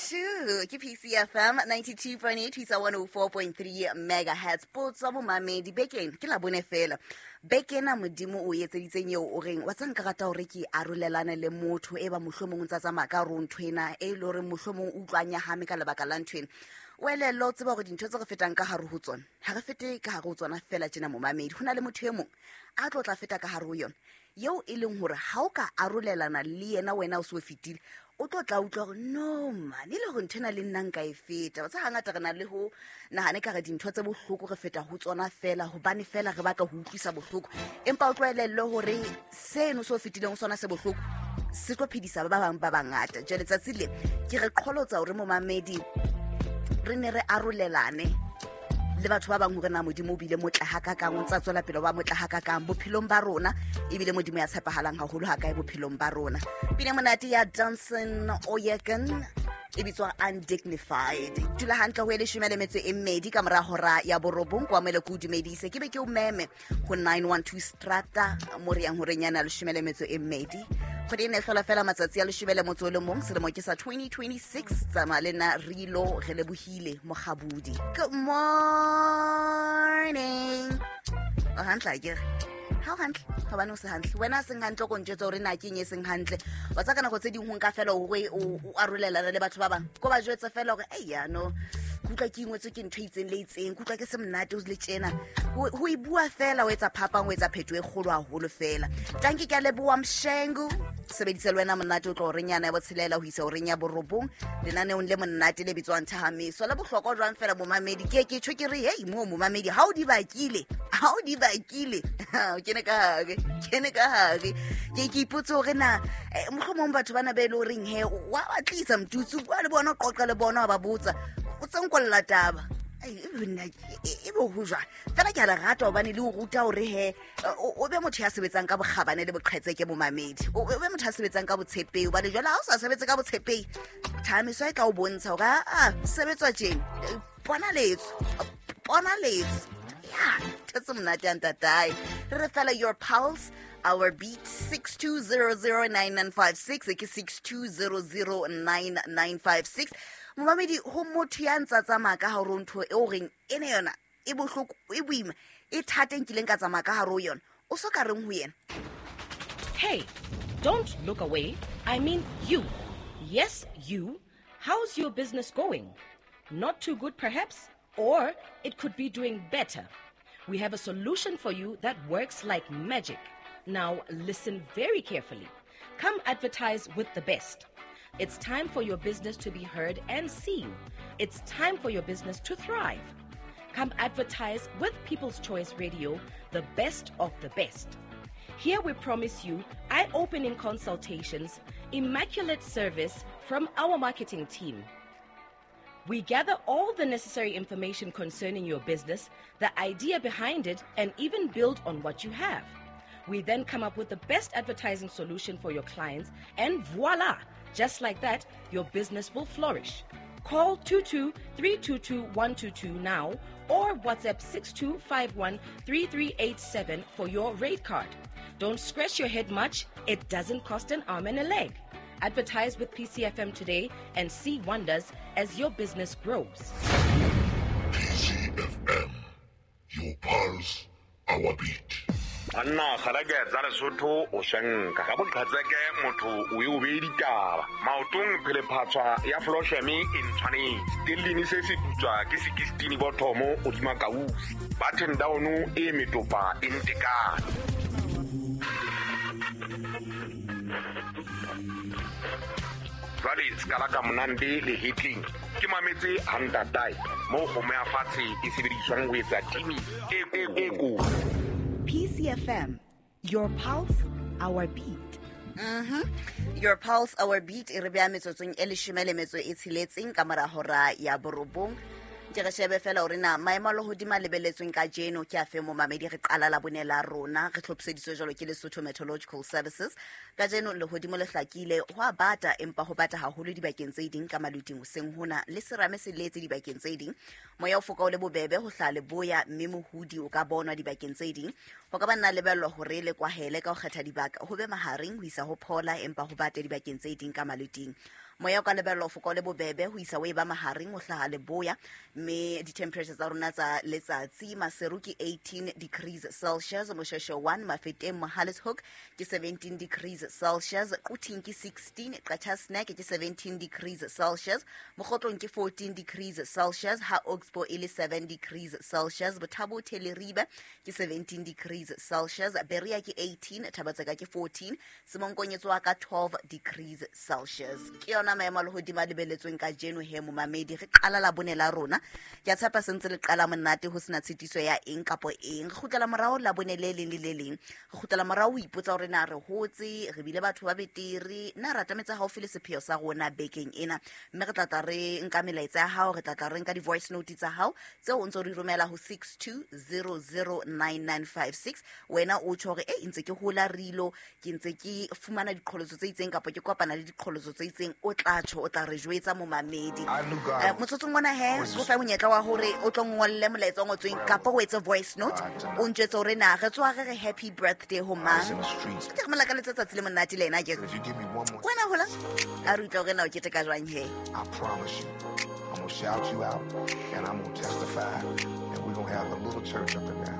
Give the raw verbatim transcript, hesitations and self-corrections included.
two. Ke P C F M ninety-two point eight, one oh four point three megahertz. Potso momamedi bekeng ke la bone fela. Bekena modimo o etseditseng eo o reng wa tsa nka rata hore ke arolelane le motho e ba mohlomong o ntsa tsamaya ka ro ntho ena e le hore mohlomong o utlwanya hame ka lebaka la ntho ena. O elello tseba hore dintho tse re fetang ka hare ho tsona ha re fete ka hare ho tsona fela tjena momamedi. Ho na le motho e mong a tlo tla feta ka hare ho yona eo e leng hore ha o ka arolelana le yena wena o se o fetile o tlo tla utlwa hore no man e le hore ntho ena le nna nka e feta. Wa tseba hangata re na le ho nahane ka re dintho tse bohloko re feta ho tsona fela hobane fela re batla ho utlwisa bohloko, empa o tlwaelelle hore seno se o fetileng sona se bohloko se tlo phedisa ba bang ba bangata. Jwale tsatsi le ke re qholotsa hore momamedi re ne re arolelane le batho ba bang hore na modimo o bile motla ha ka kang o ntsa tswela pele ba motla ha ka kang bophelong ba rona ebile modimo ya tshepahalang haholo ha kae bophelong ba rona. Pina monate ya Johnson Oyekan e bitswa Undignified. Dula hantle ho e leshome le metso e mmedi ka mora hora ya borobong kwa mele ke o dumedise ke be ke o meme ho nine one two Strata mo re yang horeng yana leshome le metso e mmedi. Kgwedi ena e hlola fela matsatsi a leshome le motso o le mong selemo ke sa twenty twenty-six. Tsamaya le nna Rilo re lebohile Mokgabudi. Good morning. O hantle akere? Ha o hantle hobane o se hantle wena seng hantle ko ntjwetsa hore na ke eng e seng hantle. Wa tsaka nako tse ding ho nka fela hore o arolelana le batho ba bang ko ba jwetsa fela hore ei ya no ke utlwa ke ingwetswe ke ntho e itseng le itseng, ke utlwa ke se monate o le tjena. Ho e bua fela o etsa phapang o etsa phetho e kgolo haholo fela. Tanki ke a leboha Mshengu sebedisa le wena monate o tlo horeng yana ya botshelela ho isa horeng ya borobong lenaneong le monate le bitswang Thahamiso. Le bohlokwa jwang fela momamedi ke ke tjho ke re hei mo momamedi ha o di bakile ha o di bakile o kene ka hare kene ka hare ke ke ipotse hore na mohlomong batho bana be le horeng he wa batlisa mtutsu bua le bona qoqa le bona wa ba botsa o tsenkolla taba e bo ho jwang fela ke a le rata hobane le o ruta hore he o be motho ya sebetsang ka bokgabane le boqhetseke momamedi, o be motho ya sebetsang ka botshepehi hobane jwale ha o sa sebetse ka botshepehi thamiso e tla o bontsha hore a sebetswa tjena bona letso bona letso ya tse monate ya ntatae. Re re fela your pulse our beat six two zero zero nine nine five six ke six two zero zero nine nine five six. Momamedi ho motho ya ntsa tsamaya ka hare ho ntho e o reng ene yona e bohloko e boima e thata nkileng ka tsamaya ka hare ho yona o so ka reng ho yena. Hey, don't look away. I mean you. Yes, you. How's your business going? Not too good perhaps, or it could be doing better. We have a solution for you that works like magic. Now listen very carefully. Come advertise with the best. It's time for your business to be heard and seen. It's time for your business to thrive. Come advertise with People's Choice Radio, the best of the best. Here we promise you eye-opening consultations, immaculate service from our marketing team. We gather all the necessary information concerning your business, the idea behind it, and even build on what you have. We then come up with the best advertising solution for your clients, and voila! Just like that, your business will flourish. Call two two three two two one two two now or WhatsApp six two five one three three eight seven for your rate card. Don't scratch your head much. It doesn't cost an arm and a leg. Advertise with P C F M today and see wonders as your business grows. P C F M, your pulse, our beat. Anna kgalake tsa Lesotho o shanka ka boqhatseke motho o e o be ditaba maotong phele phatswa ya flosheme e ntshwanetse tellini se se putswa ke sixteen bothomo o dima kausi button down e metopa e ntekane. Jwale skala ka monande le hitling ke mametse hantatae mo kgomo ya fatshe e sebediswang ho etsa timi e e ko. P C F M, your pulse, our beat. Mm-hmm. Your pulse, our beat. E re beha metsotsong e leshome le metso e tsheletseng ka mora hora ya borobong. Ke re shebe fela hore na maemo a lehodimo a lebelletsweng kajeno ke afe momamedi. Re qala la bone la rona re hlophiseditswe jwalo ke Lesotho Meteorological Services. Kajeno lehodimo le hlakile ho a bata empa ho bata haholo dibakeng tse ding ka maluting hoseng hona le serame se letse dibakeng tse ding. Moya o foka o le bobebe ho hlaha leboya mme mohudi o ka bonwa dibakeng tse ding. Ho ka ba nna lebellwa hore le kwahele ka ho kgetha dibaka ho be mahareng ho isa ho phola empa ho bate dibakeng tse ding ka maluting. Moya o ka lebellwa ho foka o le bobebe ho isa o e ba mahareng ho hlaha leboya, mme di-temperature tsa rona tsa letsatsi Maseru ke eighteen degrees Celsius, Moshweshwe one, Mafeteng Mohale's Hoek ke seventeen degrees Celsius, Quthing ke sixteen, Qacha's Nek ke seventeen degrees Celsius, Mokhotlong ke fourteen degrees Celsius, ha Oxbow e le seven degrees Celsius, Bothabo Leribe ke seventeen degrees Celsius, Berea ke eighteen, Thabatseka ke fourteen, Semonkonyetso wa ka twelve degrees Celsius. Ke yona maemo a lehodimo a lebelletsweng kajeno he momamedi. Re qala Labone la rona, ke a tshepa sentse le qala monate ho sena tshitiso ya eng kapo eng. Re kgutlela morao Labone le leng le le leng, re kgutlela morao ho ipotsa hore na re hotse, re bile batho ba betere, na re atametse haufi le sepheo sa rona bekeng ena. Mme re tla tla re nka melaetsa ya hao, re tla tla re nka di-voice note tsa hao tseo o ntso di romela ho six two zero zero nine nine five six. Wena o tjho hore e ntse ke hola rilo, ke ntse ke fumana diqholotso tse itseng kapa ke kopana le diqholotso tse itseng, o tla tjho, o tla re jwetsa momamedi. Eh, motsotsong ona he, ko fa monyetla wa hore o tlo ngolle molaetsa o ngotsweng kapa o etse voice note, o ntjwetse hore na re tswa re re happy birthday ho mang. Ke re molakaletsa tsatsi le monate le ena ke. Wena hola, a re utlwe hore na o keteka jwang he. I promise you, I'm gonna shout you out and I'm gonna testify, and we're gonna have a little church up in there.